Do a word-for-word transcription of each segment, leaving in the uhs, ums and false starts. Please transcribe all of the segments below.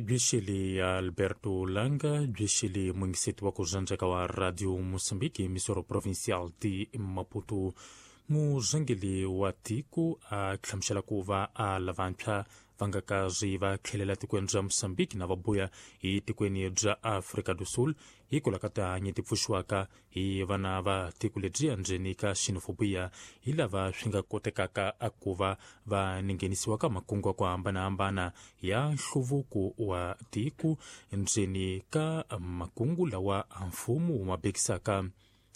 Bwixili Alberto Langa, bwixili mwingiseti wa kuzanjaka wa Radio Moçambique, emissora provincial de Maputo. Muzangeli wa tiko a hlamusela ku va a lavantshwa va nga kazi va tlhelela tikweni bya Moçambique na va buya hi tikweni bya Afrika do Sul hikwalaho ka tihanyi ti pfuxiwaka hi vana va tiko lebyi endzeni ka xenofobia hi lava swi nga kotekaka a ku va va nghenisiwa ka makungu ya ku hambanahambana ya nhluvuko wa tiko endzeni ka makungu lawa mfumo wu ma bekisaka.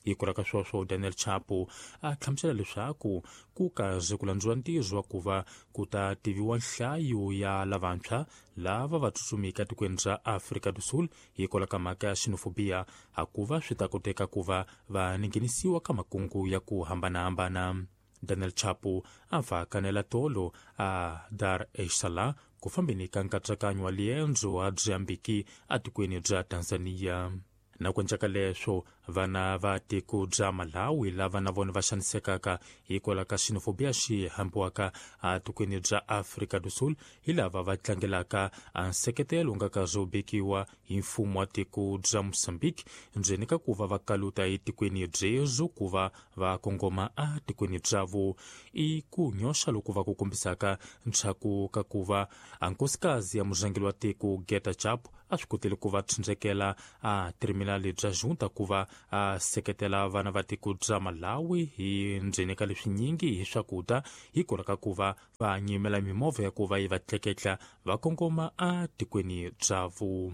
Hikwalaho ka sweswo, Daniel Chapo a hlamusela leswaku ku kaze ku landziwa ntirho wa ku va ku ta tiviwa nhlayo ya lavantshwa lava va tsutsumika tikweni ra Afrika do Sul hikwalaho ka mhaka ya xenofobia hakuva swi ta koteka ku va va nghenisiwa ka makungu ya ku hambanahambana. Daniel Chapo a va kanela tolo a Dar es Salaam ku fambeni ka nkatsakanyo wa liendzo a byi atikweni bya Tanzania. Na ku endleka leswo, vana va tiko bya Malawi lava na vona va xanisekaka hikwalaho ka xenofobia xi hambiwaka atikweni bya Afrika do Sul hi lava va tlangelaka nseketelo nga kazi wu bekiwa hi mfumo wa tiko bya Moçambique ndzeni ka ku va va kaluta etikweni byezo ku va va kongoma atikweni byavo. I ku nyoxa loku va ku kombisaka ntshaku ka ku va nkosikazi ya murhangeri wa tiko Geta Chapo a swi kotile ku va tsindzekela a terminali bya Junta ku va a seketela vana va tiko bya Malawi hi ndzeni ka leswinyingi hi swakudya hikwalaho ka ku va va nyimela mimovha ya ku va yi va tleketla va kongoma a tikweni byavo.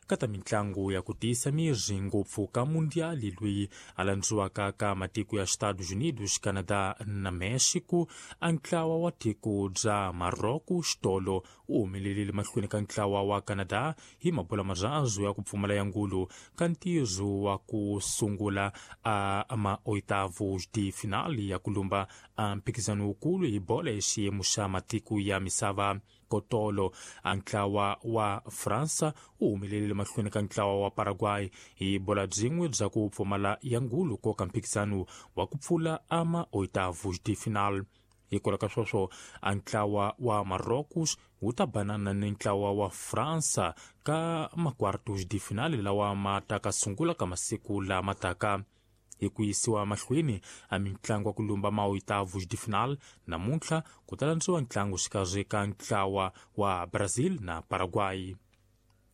Ka ta mitlangu ya ku tiyisa miri ngopfu ka mundiali loyi a landziwaka ka matiko ya Estados Unidos, Canada na Mexico, a ntlawa wa tiko bya Maroko xitolo wu humelerile mahlweni ka ntlawa wa Canada hi mabola marhazu ya ku pfumala ya ngulu ka ntirho wa ku sungula a ma-oitavos de final ya ku lumba a mphikizano wukulu hi bola ya xiyimo xa matiko ya misava. Kotolo a ntlawa wa Fransa wu humelerile mahlweni ka ntlawa wa Paraguay hi bola byin'we bya ku pfumala ya ngulu koka mphikizano wa ku pfula a ma-oitavos de final. Hikwalaho ka sweswo, a ntlawa wa Marocos wu ta banana ni ntlawa wa Fransa ka ma-quartos de finale lawa ma taka sungula ka masiku lama taka. Hi ku yisiwa mahlweni a mitlangu ya ku lumba ma-oitavos de final namuntlha ku ta landziwa ntlangu xikarhi ka ntlawa wa Brazil na Paraguay.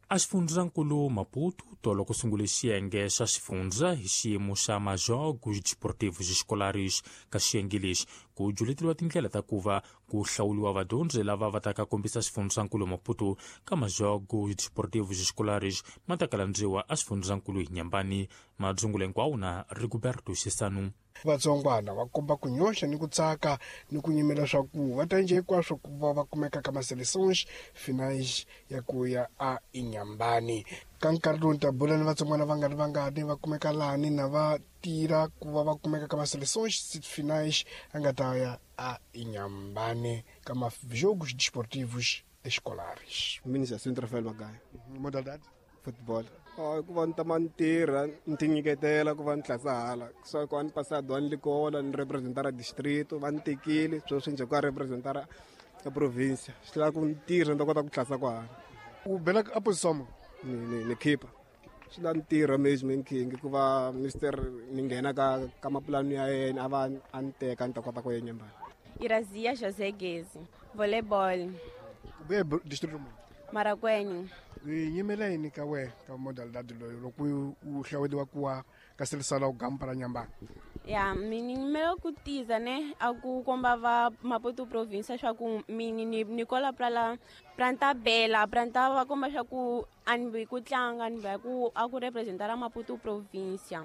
A xifundzankulu Maputo tolo ku sungule xiyenge xa xifundza hi xiyimo xa Majogos Desportivos Escolares. Ka xiyenge lexi ku juleteliwa tindlela ta ku va ku hlawuriwa vadyondzi lava va taka kombisa xifundzankulu Maputo ka Majogos Desportivos Escolares ma ta kalandziwa a xifundzankulu hi Nyambani. Madzungulo hinkwawo na Rigoberto Xisanu. Vatsongwana va komba ku nyoxa ni ku tsaka ni ku nyimela swa ku va ta njhe hinkwaswo ku va va kumeka ka ma-seleções finais ya ku ya a Inhambane. Ka nkarhi lowu ni ta bula ni vatsongwana va nga ri vangani va kumeka lani na va tirha ku va va kumeka ka ma-seleções finais a nga ta ya a Inhambane ka ma-jogos desportivos escolares. Mina Jacinto Rafael Magaya. Modalidade? Football. Oh, ku va ni tama ni tirha ni ti nyiketela ku va ni tlasa hala so ku va ni pasado ni likola ni representara distrito va ni tekile sweswi njhe ku ya representara ya province swi lava ku ni tirha ni ta kota ku tlasa kwahala. U bela a position ni ni ni keeper swi lava ni tirha management king ku va mister ni nghena ka ka mapulani ya yena a va a ni teka ni ta kota ku ya Nyambani. Irazia José Gezi, volleyball. U buya distrito muni? Marracuene. Yi nyimela yini ka wena ka modalidade loyi loko u hlawuriwa ku wa ka selisala u gampa ra Nyambani? Ya mini nyimela ku tiza ne a ku komba va Maputo province swa ku mini ni ni kola pra pra ntabela pra nta va komba swa ku a ni vi ku tlanga ni va ku a ku representara Maputo province.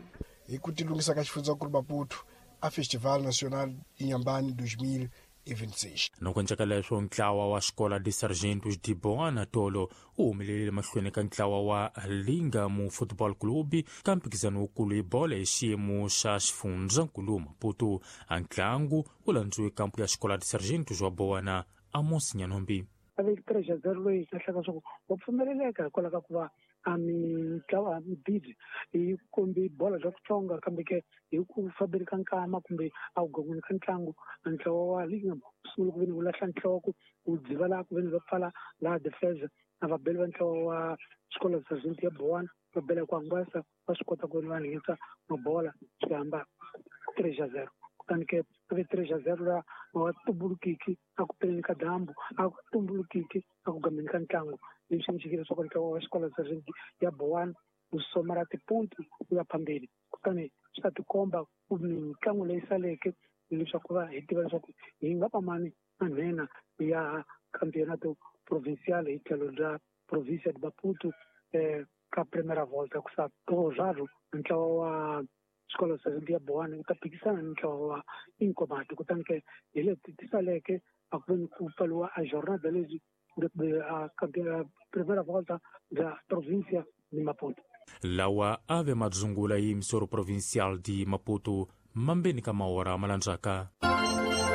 Hi ku tilunghisa ka xifundzankulu Maputo a Festival Nacional Inhambane dois mil e vinte e seis. Loko endleka leswo, ntlawa wa Escola de Sargentos de Boana tolo wu humelerile mahlweni ka ntlawa wa Lingamu Football Club ka mphikizano wukulu hi bola hi xiyimo xa xifundzankulu Maputo. A ntlangu wu landziwe kampu ya Escola de Sargentos wa Boana Amos Nyanombi. A ve three a zero loyi kahlaka swa ku wa pfumeleleka hikwalaho ka ku va a mitlawa bidi yi kombi bola bya kutsonga kambe ke hi ku fambeni ka nkama kumbe a ku gongweni ka ntlangu ntlawa wa Lingham wu sungula ku veni wu lahla nhloko wu dziva laha ku veni va pfala laha defense na vabeli va ntlawa wa xikolo sergeant ya Bowana va bela ku hangasa va swi kota ku veni va nghenisa mabola swi hamba three a zero. Kutani ke a ve three a zero laha wa tumbulukiki a ku peleni ka dyambu a ku tumbulukiki a ku gambeni ka ntlangu leswi endlekile leswaku ntlawa wa xikolo sergeant ya Bowana wu somara tipuntu wu ya phambili. Kutani swi ta tikomba ku mitlangu leyi saleke leswaku va hi tiva leswaku hi nga va mani manhena ya campeonato provincial hi tlhelo bya provincia de Maputo eh, ka primera volta ku sa raro ntlawa wa xikolo sergeant ya Bowana wu ta phikisana ni ntlawa wa Inkomati. Kutani ke hi leti ti saleke a ku veni ku pfaliwa a jornada lezi a primera volta bya provincia ni Maputo. Lawa a ve madzungula yi misoro provincial di Maputo mambeni ka mahora malandzaka.